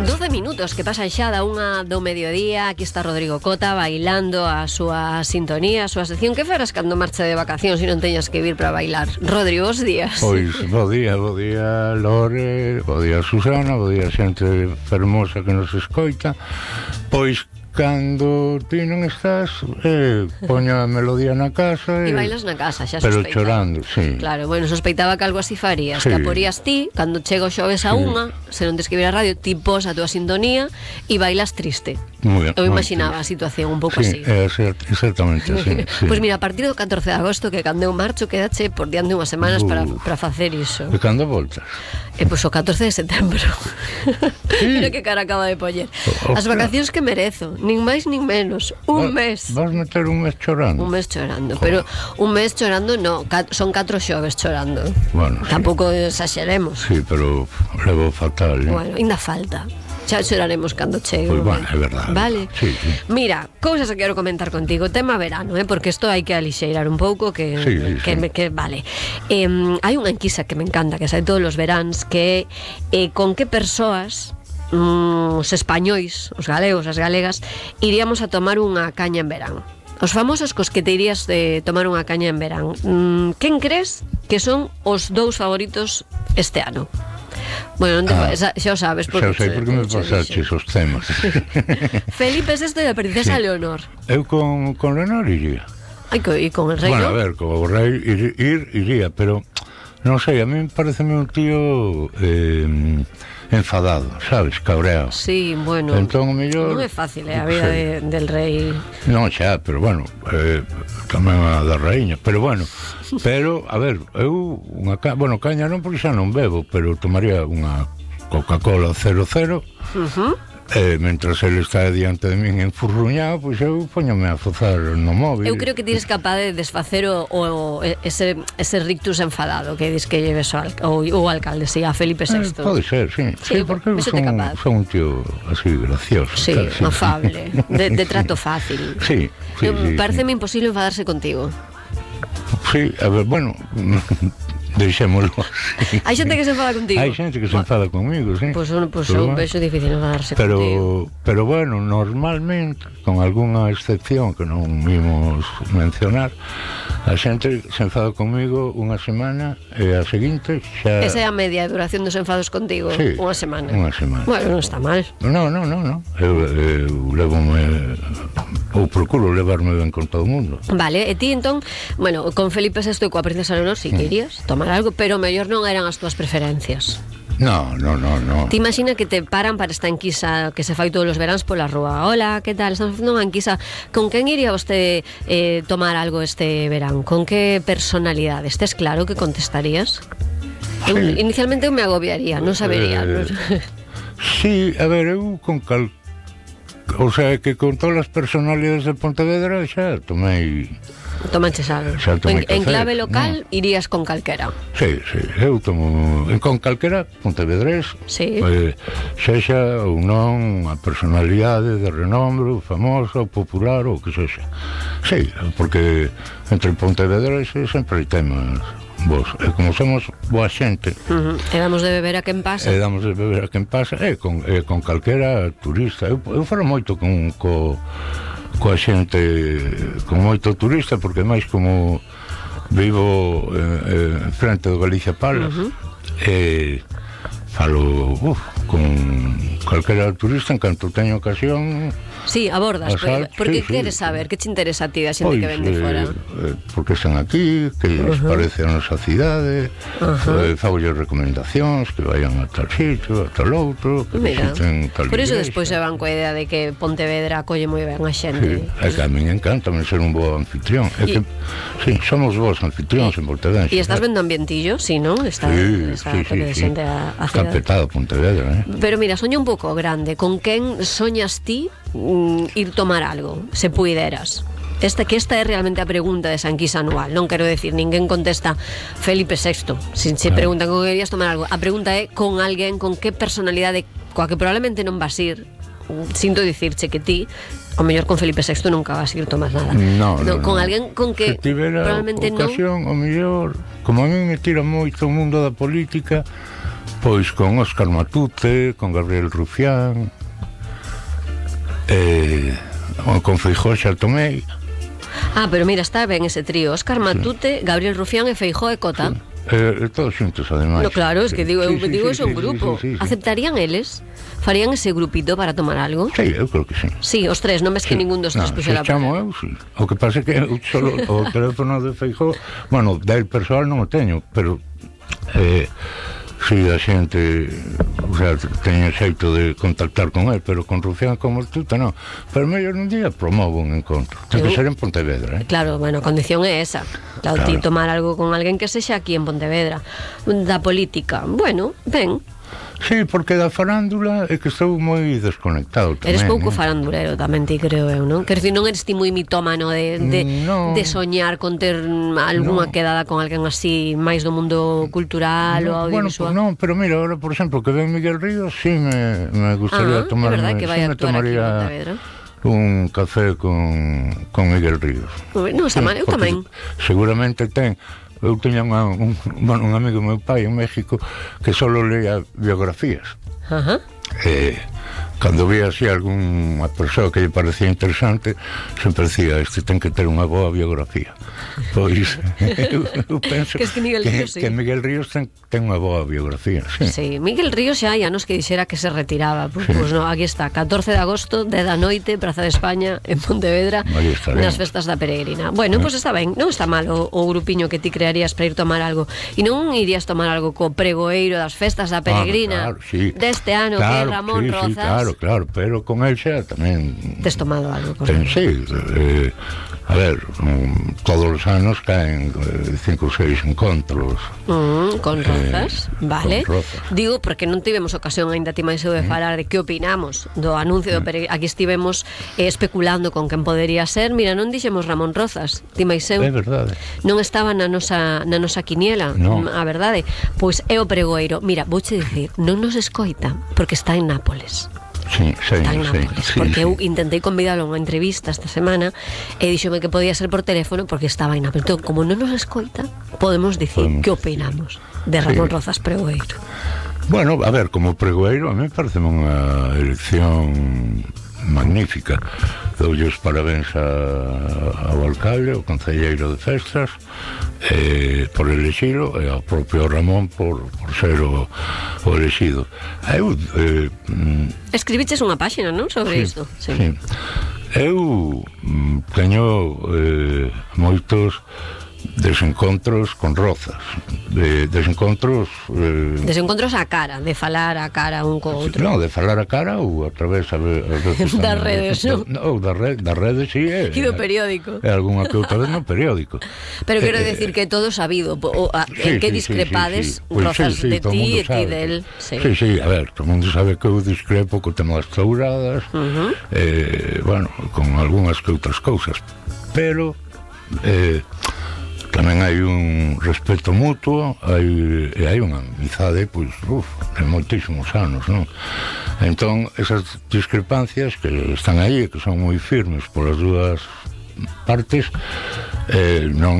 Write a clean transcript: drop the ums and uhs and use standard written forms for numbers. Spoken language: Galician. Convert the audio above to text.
12 minutos que pasan xa da unha do mediodía. Aquí está Rodrigo Cota bailando a súa sintonía, a súa sección. Que farás cando marcha de vacacións e non teñas que vir para bailar? Rodrigo, bons días. Pois, bo día Lore, bo día Susana, bo día xente fermosa que nos escoita. Pois, cando ti non estás, poño a melodía na casa e bailas na casa, xa pero sospeitaba. chorando, sí. Claro, bueno, sospeitaba que algo así farías, sí. Que a porías ti, cando chega o xoves a unha, se non tes que vir a radio, ti pos a túa sintonía e bailas triste. Muy bien, eu imaginaba a situación un pouco sí, así. Exactamente así, sí. Pois mira, a partir do 14 de agosto, que cando eu marcho, quedache por diante unhas semanas para facer iso. E cando voltas? Pois o 14 de setembro. Sí. Mira que cara acaba de poñer. As vacacións que merezo, nin máis nin menos. Un mes. Vas meter un mes chorando? Un mes chorando, pero un mes chorando no, son 4 xoves chorando. Bueno, tampouco exageremos. Sí, pero levo fatal, Bueno, ainda falta. Xa choraremos cando chegue. Pois bueno, é verdade. Vale. Sí. Mira, cousas que quero comentar contigo. Tema verano, porque isto hai que alixeirar un pouco que vale. Hai unha enquisa que me encanta, que sai todos os veráns, que é con que persoas os españois, os galegos, as galegas, iríamos a tomar unha caña en verán. Os famosos cos que te irías de tomar unha caña en verán. Quen crees que son os dous favoritos este ano? Bueno, xa o sabes porque xa sei porque me pasaches os temas. Felipe VI e a princesa Leonor. Eu con Leonor iría. E con el rei, bueno, ¿no? A ver, con o rei iría, pero non sei, a mí pareceme un tío enfadado, sabes, cabreado. Sí, bueno, entón, mellor, non é fácil a vida del rei. Non, xa, pero bueno, tamén a da raíña, pero bueno, a ver, eu caña non porque xa non bebo, pero tomaría unha Coca-Cola 00. Mentras ele está diante de min enfurruñado, pois eu poñome a fozar no móvil. Eu creo que tires capaz de desfacer ese rictus enfadado que dis que lleves o alcalde, a Felipe VI. Pode ser, sí, porque eu son un tío así gracioso. Sí, afable, de trato fácil. Sí. Pareceme imposible enfadarse contigo. Sí, a ver, bueno, deixémoslo así. Hai xente que se enfada contigo. Hai xente que se enfada conmigo, sí. Pois eu vexo difícil enfadarse contigo. Pero bueno, normalmente, con algunha excepción que non vimos mencionar, a xente se enfada conmigo unha semana e a seguinte xa... Esa é a media de duración dos enfados contigo, sí, unha semana. Bueno, non está mal. Non. Eu levome... ou procuro levarme ben con todo o mundo. Vale, e ti entón, bueno, con Felipe VI e coa princesa Leonor si que irías tomar algo, pero mellor non eran as túas preferencias. No. Ti imagina que te paran para esta enquisa que se fai todos os veráns pola rúa. Hola, que tal? Estamos facendo unha enquisa. Con quen iría vostede tomar algo este verán? Con que personalidade? Estes claro que contestarías? Sí. Inicialmente eu me agobiaría, non sabería. Sí, a ver, eu con o sea, que con todas as personalidades de Pontevedra xa tomei... Tomanches algo. En clave local irías con calquera. Sí, eu tomo con calquera pontevedrés, sexa ou non a personalidade de renombre, famosa, popular ou que sexa. Sí, porque entre pontevedreses sempre hai temas vos, e como somos boa xente, e damos de beber a quen pasa, e con calquera turista. Eu falo moito coa xente, con moito turista, porque máis como vivo frente do Galicia Palace, falo con calquera turista en canto teño ocasión. Sí, abordas, porque queres saber, que te interesa a ti da xente que ven de fora? Porque están aquí, que les parece a nosa cidade, fagolle recomendacións, que vayan a tal sitio, a tal outro, que visiten tal igrexa. Por iso despois se van coa idea de que Pontevedra acolle moi ben a xente. É que a min encantame ser un bo anfitrión. Sí, somos vos anfitrións en Pontevedra. E estás vendo ambientillo, sí, non? Está presente a cidade. Está petado Pontevedra, Pero mira, soña un pouco grande. Con quen soñas ti ir tomar algo, se puideras? Esta é realmente a pregunta de esa enquisa anual. Non quero decir, ninguén contesta Felipe VI. Se preguntan con que querías tomar algo, a pregunta é con alguén, con que personalidade, coa que probablemente non vas ir. Sinto dicirche que ti, o mellor con Felipe VI nunca vas ir tomar nada. No, con alguén con que probablemente non. O mellor, como a mí me tira moito o mundo da política, Pois con Óscar Matute, con Gabriel Rufián, con Feijóo xa tomei. Pero mira, está ben ese trío: Óscar Matute, Gabriel Rufián e Feijóo e Cota. Todos xuntos, ademais. No, claro, es que digo, é un grupo. Aceptarían eles? Farían ese grupito para tomar algo? Sí, eu creo que sí. Sí, os tres, non ves que ningún dos tres puxera para. Chamo eu, sí. O que pasa é que eu solo o teléfono de Feijóo, bueno, del persoal non o teño, pero si a xente, o sea, teño xeito de contactar con él, pero con Rufián como Matute non. Pero mellor un día promovo un encontro. Ten que ser en Pontevedra, Claro, bueno, a condición é esa. Claro, ti tomar algo con alguén que sexa aquí en Pontevedra. Da política, bueno, ben. Sí, porque da farándula é que estou moi desconectado tamén. Eres pouco farandulero tamén, ti creo eu, non? Quer dicir, non eres ti moi mitómano de soñar con ter algunha quedada con alguén así máis do mundo cultural ou audiovisual? Bueno, pero mira, ahora, por exemplo, que ven Miguel Ríos, sí me gustaría tomarme, que vai a actuar aquí en Pontevedra. Un café con Miguel Ríos. Non, está mal, eu tamén. Seguramente eu teña un amigo meu pai en México que solo leía biografías. Cando vía así algunha persoa que lle parecía interesante, sempre decía, este ten que ter unha boa biografía. Pois eu penso que Miguel Ríos ten unha boa biografía. Sí, Miguel Ríos xa hai anos que dixera que se retiraba. Pois non, aquí está, 14 de agosto, 10 da noite, Praza de España, en Pontevedra, nas festas da Peregrina. Bueno, pois está ben, non está mal o grupiño que ti crearías para ir tomar algo. E non irías tomar algo co pregoeiro das festas da Peregrina deste ano, que é Ramón Rozas. Claro, pero con el xa tamén tes tomado algo con él. Sí, a ver, todos os anos caen 5 ou 6 encontros con Rozas, vale, con Rozas. Digo, porque non tivemos ocasión aínda ti máis eu de falar de que opinamos do anuncio do aquí estivemos especulando con quen podería ser. Mira, non dixemos Ramón Rozas, ti máis eu, é verdade, non estaba na nosa quiniela, a verdade. Pois é o pregoeiro. Mira, vouche dicir, non nos escoita porque está en Nápoles. Sí, porque eu intentei convidalo a unha entrevista esta semana e díxome que podía ser por teléfono porque estaba en Nápoles. Entón, como non nos escoita, podemos dicir que opinamos de Ramón Rozas pregoeiro. Bueno, a ver, como pregoeiro a mí parece unha elección magnífica. Doulle os parabéns ao alcalde, ao concelleiro de festas, por elexilo, e ao propio Ramón por ser o elexido. Escribiches unha páxina, non, sobre isto? Sí. Eu teño moitos desencontros con Rozas, desencontros a cara, de falar a cara un co outro. Non, de falar a cara ou a través das redes, non? Non, das redes, sí, e do periódico. É algunha que outra vez no periódico. Pero quero decir que todo sabido, en que discrepades Rozas de ti e ti del. Sí, a ver, todo mundo sabe que eu discrepo co tema das touradas, bueno, con algunhas que outras cousas, pero tamén hai un respeto mutuo, hai unha amizade, pois, de moitísimos anos, non? Entón, esas discrepancias que están aí e que son moi firmes polas dúas partes, non